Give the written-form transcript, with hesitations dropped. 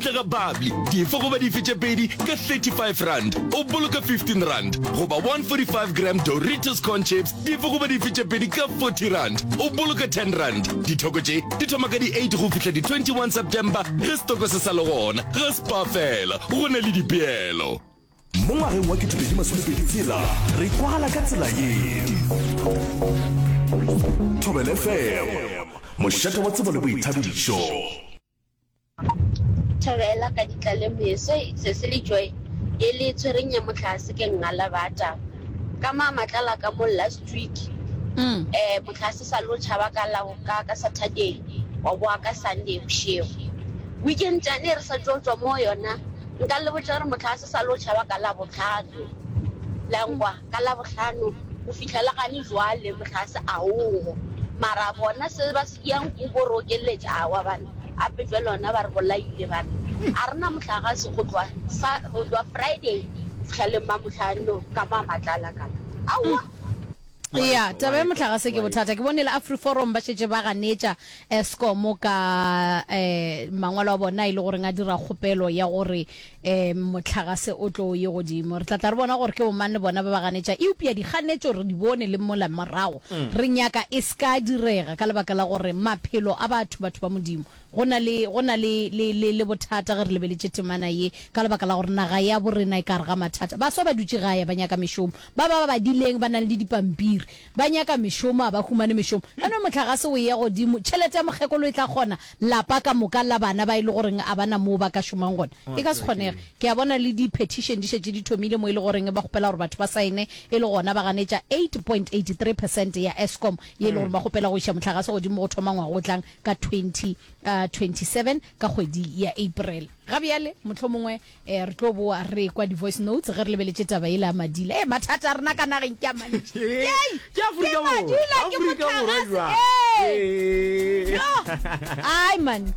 Ntle ga bubbly, dife goba dife tše pedi ka R35, o boloka R15, goba 145 gram Doritos corn chips, dife goba dife tše pedi ka R40, o boloka R10. Dithoko tše di thoma ka di 8 go fihla di 21 September ge setoko se sa le gona. Ga Spar fela, go na le dipeelo. Mo ngwageng wa 2026 re kwagala ka tsela ye. Thobela FM, mošate wa tsebo le boithabišo. Thabela ka ditlalemoye se se le joy ye le tshwereng ya mohlase ke ngala bata ka ma matlala ka mo last week eh mohlase sa lo tšhaba ka la ka ka Saturday wa boa ka Sunday bošego weekend tšane re sa tšo tšwa mo yona nka le botša gore mohlase sa lo tšhaba ka Labohlano la nkwa ka Labohlano go fihla le gane jwale mohlase a ogo mara bona se ba se yang ko bo re okeletša awa bana Gape bjale ona ba re bolaile ba re a re na mohlagase go tloga sa go tloga Friday go fihla le Mmamohlano ka mo a matlala ka aowa. Ya, taba ya mohlagase ke bothata. Ke bone le AfriForum ba šetše ba ganetša Eskom ka um mangwalo a bona e le goreng a dira kgopelo ya gore um mohlagase o tlo ye godimo. Re tla tla re bona gore ke bomang le bona ba ba ganetša. Eupša dikganetšo re di bone le mola morago. Re nyaka e se ka direga ka lebaka la gore maphelo a batho, batho ba Modimo, go na le, go na le, le, le, le bothata ge re lebeletše temana ye, ka lebaka la gore naga ya borena e ka gare ga mathata. Baswa ba dutše gae ba nyaka mešomo. Ba ba ba badileng ba nang le dipampiri ba nyaka mešomo, a ba humane mešomo. Ka no mohlagase o eya godimo, tšhelete ya mokgekolo e tla kgona lapa ka moka la bana ba e le goreng a ba na moo ba ka šomang gona? E ka se kgonege. Ke a bona le di-petition di šetše di thomile mo e le goreng ba kgopela gore batho ba saene e le gona ba ganetša 8.83 percent ya Eskom ye e le gore ba kgopela go iša mohlagase godimo go thoma ngwaga o tlang ka 2027 ka kgwedi ya April. Ga bjale mohlomongwe Eh, re tlo boa re kwa di-voice notes ge re lebeletše taba yela ya madila. Eh, mathata a rena ka nageng ke a mantši. Yei! Ke Afrika Ke Borwa. madila, ke Afrika Borwa mohlagase. jwang? Eh! Eh. Yo! Ai man.